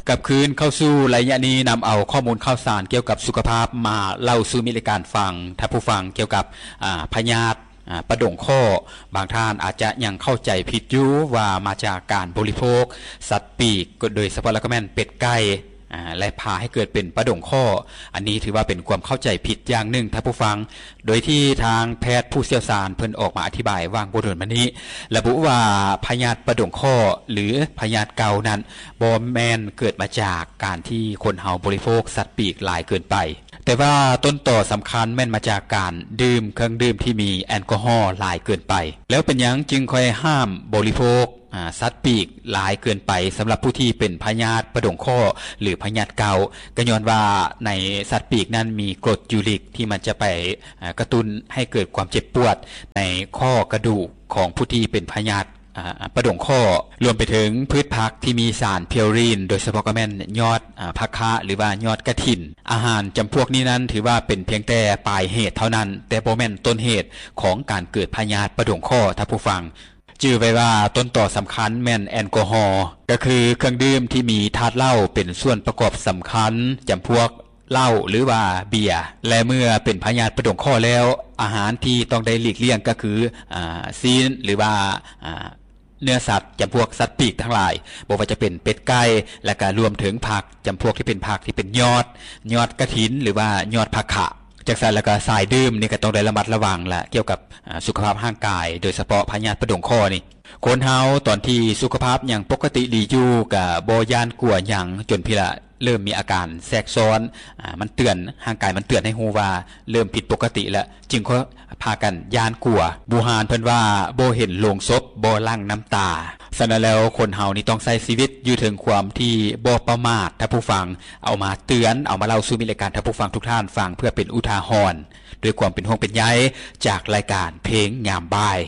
ກັບຄືນເຂົ້າສູ່ໄລຍະນີ້ ນຳເອົາຂໍ້ມູນຂ່າວສານກ່ຽວກັບສຸຂະພາບມາເລົ່າສູ່ມິດລາຍການຟັງ. ທ່ານຜູ້ຟັງ, ກ່ຽວກັບ ອາ ພະຍາດ ອາ ປະດົງຄໍ້, ບາງທ່ານອາດຈະຍັງເຂົ້າໃຈຜິດຢູ່ວ່າມາຈາກການບໍລິໂພກສັດປີກ, ໂດຍສະເພາະແລ້ວກໍແມ່ນເປັດໄກ່ ອາ ແລະ ພາໃຫ້ເກີດເປັນປະດົງຄໍ້. ອັນນີ້ຖືວ່າເປັນຄວາມເຂົ້າໃຈຜິດຢ່າງໜຶ່ງ, ທ່ານຜູ້ຟັງ. ໂດຍທີ່ທາງແພດຜູ້ຊ່ຽວຊານເພິ່ນອອກມາອະທິບາຍຫວ່າງບໍ່ດົນມານີ້ ລະບຸວ່າພະຍາດປະດົງຄໍ້ ຫຼື ພະຍາດເກົານັ້ນ ບໍ່ແມ່ນເກີດມາຈາກການທີ່ຄົນເຮົາບໍລິໂພກສັດປີກຫຼາຍເກີນໄປ, ແຕ່ວ່າຕົ້ນຕໍສຳຄັນແມ່ນມາຈາກການດື່ມເຄື່ອງດື່ມທີ່ມີແອລກໍຮໍຫຼາຍເກີນໄປ. ແລ້ວເປັນຫຍັງຈຶ່ງຄ່ອຍຫ້າມບໍລິໂພກ ອາ ສັດປີກຫຼາຍເກີນໄປສຳລັບຜູ້ທີ່ເປັນພະຍາດປະດົງຄໍ້ ຫຼື ພະຍາດເກົາ? ກໍຍ້ອນວ່າໃນສັດປີກນັ້ນມີກົດຢູຣິກທີ່ມັນຈະໄປ ອາ ກະຕຸ້ນໃຫ້ເກີດຄວາມເຈັບປວດໃນຂໍ້ກະດູກຂອງຜູ້ທີ່ເປັນພະຍາດ ອາ ປະດົງຄໍ້, ລວມໄປເຖິງພືດຜັກທີ່ມີສານເພວຣິນ, ໂດຍສະເພາະກໍແມ່ນຍອດ ອາ ຜັກຄະ ຫຼືວ່າຍອດກະຖິນ. ອາຫານຈຳພວກນີ້ນັ້ນຖືວ່າເປັນພຽງແຕ່ປາຍເຫດເທົ່ານັ້ນ, ແຕ່ບໍ່ແມ່ນຕົ້ນເຫດຂອງການເກີດພະຍາດປະດົງຄໍ້, ທ່ານຜູ້ຟັງ. ຈື່ໄວ້ວ່າຕົ້ນຕໍສຳຄັນແມ່ນແອລກໍຮໍ, ກໍຄືເຄື່ອງດື່ມທີ່ມີທາດເຫຼົ້າເປັນສ່ວນປະກອບສຳຄັນ, ຈຳພວກເຫຼົ້າ ຫຼືວ່າເບຍ. ແລະ ເມື່ອເປັນພະຍາດປະດົງຄໍ້ແລ້ວ, ອາຫານທີ່ຕ້ອງໄດ້ຫຼີກລ່ຽງກໍຄື ອາ ຊີ້ນ ຫຼືວ່າ ອາ ເນື້ອສັດ ຈຳພວກສັດປີກທັງຫຼາຍ, ບໍ່ວ່າຈະເປັນເປັດໄກ່ ແລະ ກະລວມເຖິງຜັກ ຈຳພວກທີ່ເປັນຜັກທີ່ເປັນຍອດ, ຍອດກະຖິນ ຫຼືວ່າຍອດຜັກຄະ. ຈັ່ງຊັ້ນແລ້ວກໍສາຍດື່ມນີ້ກໍຕ້ອງໄດ້ລະມັດລະວັງລະ ກ່ຽວກັບ ອາ ສຸຂະພາບຮ່າງກາຍ, ໂດຍສະເພາະພະຍາດປະດົງຄໍ້ນີ້. ຄົນເຮົາຕອນທີ່ສຸຂະພາບຍັງປົກກະຕິດີຢູ່ ກໍບໍ່ຢ້ານກົວຫຍັງ, ຈົນພີ້ລະເລີ່ມມີອາການແຊກຊ້ອນ, ອາ ມັນເຕືອນ, ຮ່າງກາຍມັນເຕືອນໃຫ້ຮູ້ວ່າເລີ່ມຜິດປົກກະຕິແລ້ວ, ຈຶ່ງຄ່ອຍພາກັນຢ້ານກົວ. ບູຮານເພິ່ນວ່າ ບໍ່ເຫັນໂລງສົບ ບໍ່ຫຼັ່ງນ້ຳຕາ. ສະນັ້ນແລ້ວ ຄົນເຮົານີ້ຕ້ອງໃຊ້ຊີວິດຢູ່ເທິງຄວາມທີ່ບໍ່ປະໝາດ, ທ່ານຜູ້ຟັງ. ເອົາມາເຕືອນ, ເອົາມາເລົ່າສູ່ມິດລາຍການ, ທ່ານຜູ້ຟັງທຸກທ່ານຟັງ ເພື່ອເປັນອຸທາຫອນ, ດ້ວຍຄວາມເປັນຫ່ວງເປັນໃຍ ຈາກລາຍການເພງຍາມບ່າຍ.